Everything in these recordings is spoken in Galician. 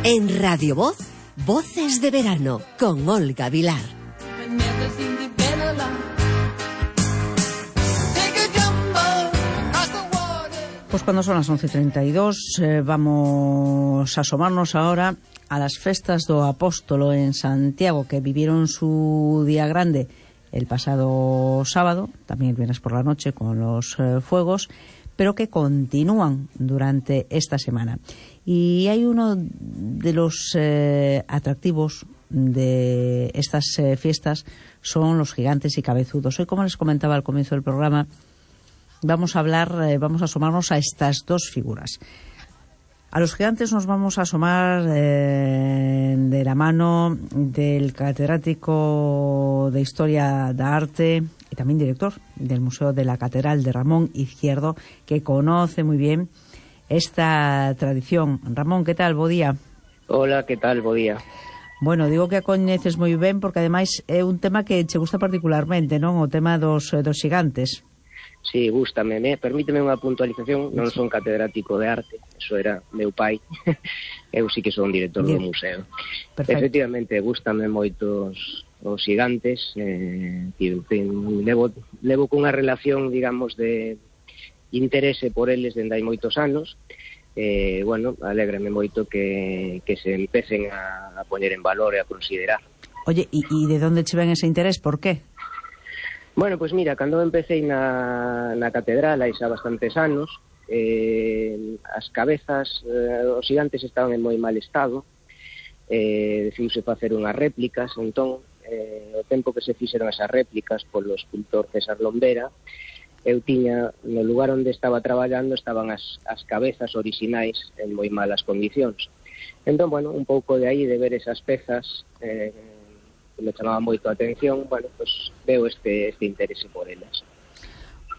En Radio Voz, Voces de Verano, con Olga Vilar. Pues cuando son las 11:32 vamos a asomarnos ahora a las festas do Apóstolo en Santiago, que vivieron su día grande el pasado sábado, también el viernes por la noche con los fuegos, pero que continúan durante esta semana. Y hay uno de los atractivos de estas fiestas, son los gigantes y cabezudos. Hoy, como les comentaba al comienzo del programa, vamos a asomarnos a estas dos figuras. A los gigantes nos vamos a asomar de la mano del catedrático de Historia da Arte y también director del Museo de la Catedral, de Ramón Izquierdo, que conoce muy bien esta tradición. Ramón, que tal? Bo día. Hola, que tal? Bo día. Bueno, digo que a coñeces moi ben porque ademais é un tema que che gusta particularmente, non? O tema dos xigantes. Sí, gústame. Permíteme unha puntualización, non son catedrático de arte, eso era meu pai. Eu sí que son director do museo. Perfecto. Efectivamente, gústame moito os xigantes, levo cunha relación, digamos, de interese por eles dende hai moitos anos. Bueno, alégrame moito que se empecen a poñer en valor e a considerar. Oye, e de onde che ven ese interés? Por qué? Bueno, pois mira, cando empecé na catedral hai xa bastantes anos, as cabezas, os xigantes estaban en moi mal estado, decidiuse facer unhas réplicas, entón, o tempo que se fixeron esas réplicas polo escultor César Lombera, eu tiña, no lugar onde estaba traballando, estaban as cabezas orixinais en moi malas condicións. Entón, bueno, un pouco de aí, de ver esas pezas, que me chamaba moito a atención, bueno, pues veo este interese por elas.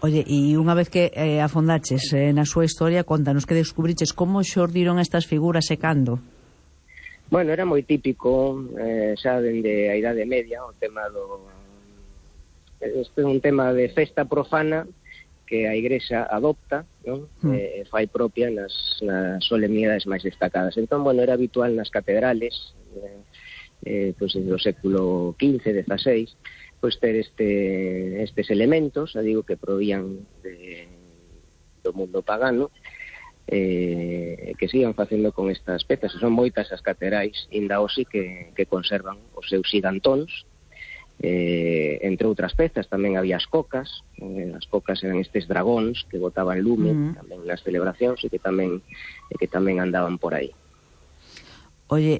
Oye, e unha vez que afondaches na súa historia, contanos que descubriches como xordiron estas figuras e cando? Bueno, era moi típico, xa dende a Idade Media, o tema este é un tema de festa profana que a Igrexa adopta, non? Fai propia nas solemnidades máis destacadas. Entón, bueno, era habitual nas catedrales, pois do século XV, XVI, pois ter estes elementos, digo, que provían do mundo pagano, que sigan facendo con estas pezas. Son moitas as catedrais, inda hoxe, que conservan os seus xigantóns, entre outras pezas. Tamén había as cocas eran estes dragóns que botaban lume tamén nas celebracións e que tamén andaban por aí. Oye,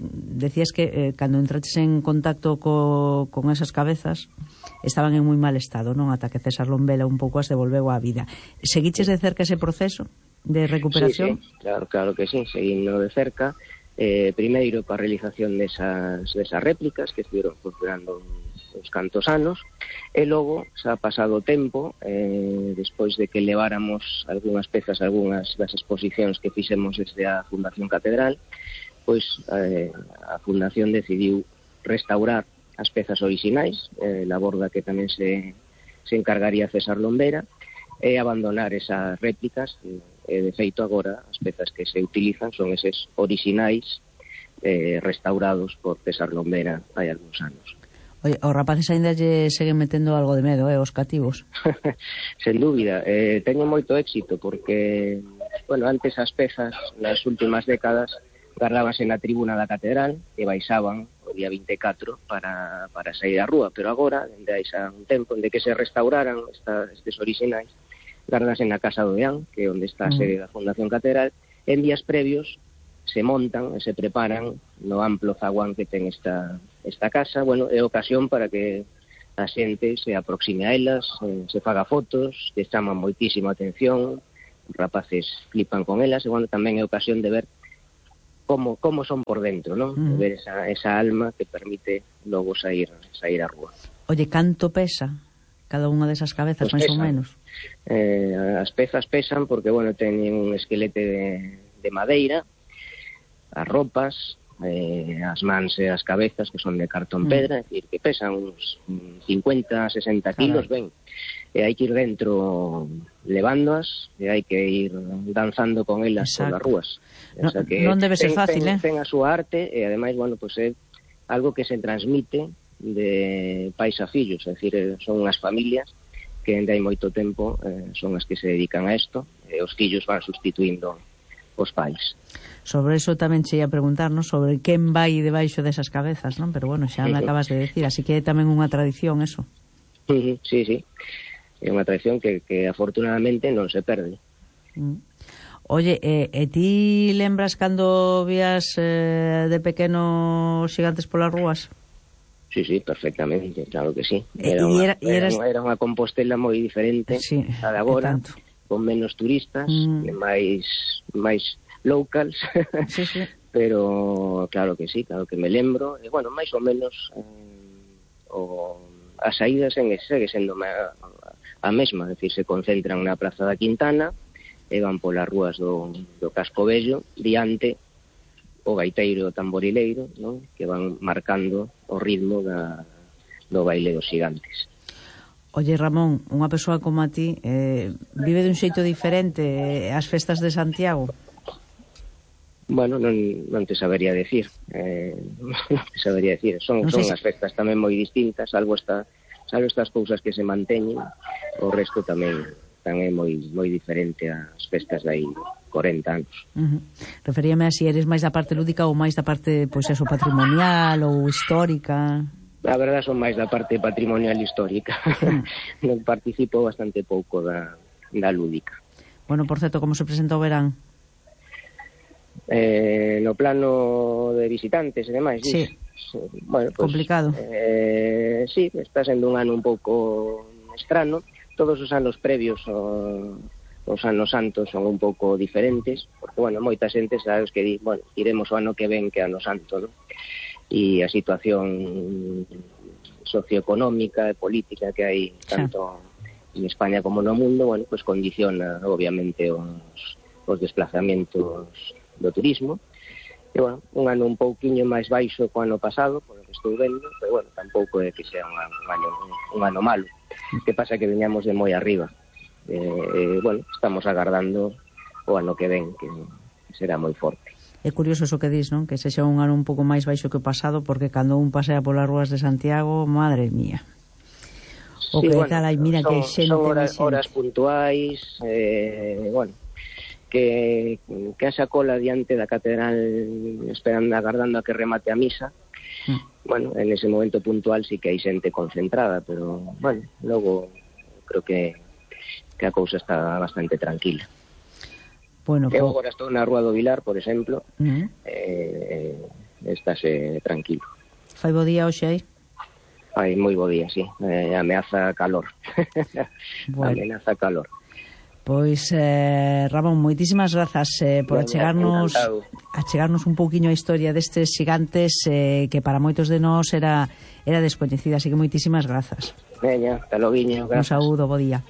decías que cando entraches en contacto con esas cabezas estaban en moi mal estado, non? Ata que César Lombera un pouco as devolveu á vida. Seguiches de cerca ese proceso de recuperación? Sí, claro que sí, seguindo de cerca. Primeiro coa realización desas réplicas que estiveron funcionando uns cantos anos, e logo, xa pasado o tempo, despois de que leváramos algunhas pezas, algunhas das exposicións que fixemos desde a Fundación Catedral, pois a Fundación decidiu restaurar as pezas orixinais, labor da que tamén se encargaría César Lombera, e abandonar esas réplicas. De feito, agora as pezas que se utilizan son eses orixinais restaurados por César Lombera hai algúns anos. Oye, os rapaces ainda lle seguen metendo algo de medo, os cativos? Sen dúbida, teño moito éxito porque, bueno, antes as pezas nas últimas décadas gardábanse na tribuna da catedral e baixaban o día 24 para sair á rúa, pero agora, dende hai xa un tempo, onde que se restauraran estes orixinais, gardanse na Casa do Deán, que é onde está a sede da Fundación Catedral. En días previos se montan e se preparan no amplo zaguán que ten esta casa. Bueno, é ocasión para que a xente se aproxime a elas, se faga fotos, que chaman moitísima atención, os rapaces flipan con elas, e bueno, tamén é ocasión de ver como son por dentro, non? De ver esa alma que permite logo sair á rúa. Oye, canto pesa cada unha desas cabezas, Pues máis ou menos? As pezas pesan porque, bueno, teñen un esquelete de madeira, as ropas, as mans e as cabezas, que son de cartón pedra, é dicir, que pesan uns 50, 60 kilos, ben. e hai que ir dentro levándoas e hai que ir danzando con elas polas rúas. O sea que non debe ser fácil, ten a súa arte e ademais, bueno, pues é algo que se transmite de pais a fillos, é dicir, son unhas familias que ainda hai moito tempo son as que se dedican a isto e os fillos van sustituindo os pais. Sobre eso tamén che ia preguntar, ¿no? Sobre quen vai debaixo desas cabezas, non? Pero bueno, xa me acabas de decir, así que é tamén unha tradición eso. Sí, sí. É unha tradición que afortunadamente non se perde. Oye, e ti lembras cando vías de pequeno Xigantes polas rúas? Sí, perfectamente, claro que sí. Era unha Compostela moi diferente a de agora, con menos turistas, máis locals, sí. Pero claro que sí, claro que me lembro, e bueno, máis ou menos a saída segue sendo a mesma, é dicir, se concentran na Praza da Quintana e van polas rúas do Casco Vello, diante o gaiteiro e o tamborileiro, non? Que van marcando o ritmo do baile dos Xigantes. Oye, Ramón, unha persoa como a ti vive dun xeito diferente as festas de Santiago? Bueno, non te sabería decir. Son as festas tamén moi distintas, salvo estas cousas que se manteñen, o resto tamén é moi diferente ás festas de aí 40 anos. Referíame a si eres máis da parte lúdica ou máis da parte, pois eso, patrimonial ou histórica. A verdade, son máis da parte patrimonial histórica. Non participo bastante pouco da lúdica. Bueno, por certo, como se presenta o verán? No plano de visitantes e demais, sí. Bueno, pues, complicado. Sí, está sendo un ano un pouco estrano. Todos os anos previos os anos santos son un pouco diferentes, porque, bueno, moita xente sabes que bueno, iremos o ano que ven que ano santo, ¿no? E a situación socioeconómica e política que hai tanto en España como no mundo, bueno, pues condiciona obviamente os desplazamentos do turismo. E, bueno, un ano un pouquiño máis baixo co ano pasado, por o que estou vendo, pero, bueno, tampouco é que sea un ano malo. Que pasa que veñamos de moi arriba. Bueno, estamos agardando o ano que ven, que será moi forte. É curioso eso que dis, non? Que sexa un ano un pouco máis baixo que o pasado, porque cando un pasea polas rúas de Santiago, madre mía. O que tal aí, mira que xente. Son horas puntuais, bueno, que haxa cola diante da catedral agardando a que remate a misa. Bueno, en ese momento puntual sí que hai xente concentrada, pero, bueno, logo creo que a cousa está bastante tranquila. Bueno, eu agora estou na Rúa do Vilar, por exemplo, estáse tranquilo. Fai bo día hoxe aí? Fai moi bo día, sí. Ameaza calor. Bueno. Ameaza calor. Pois, Ramón, moitísimas grazas por achegarnos un pouquiño a historia destes Xigantes que para moitos de nós era descoñecida, así que moitísimas grazas. Veña, hasta logo, grazas. Un saúdo, bo día.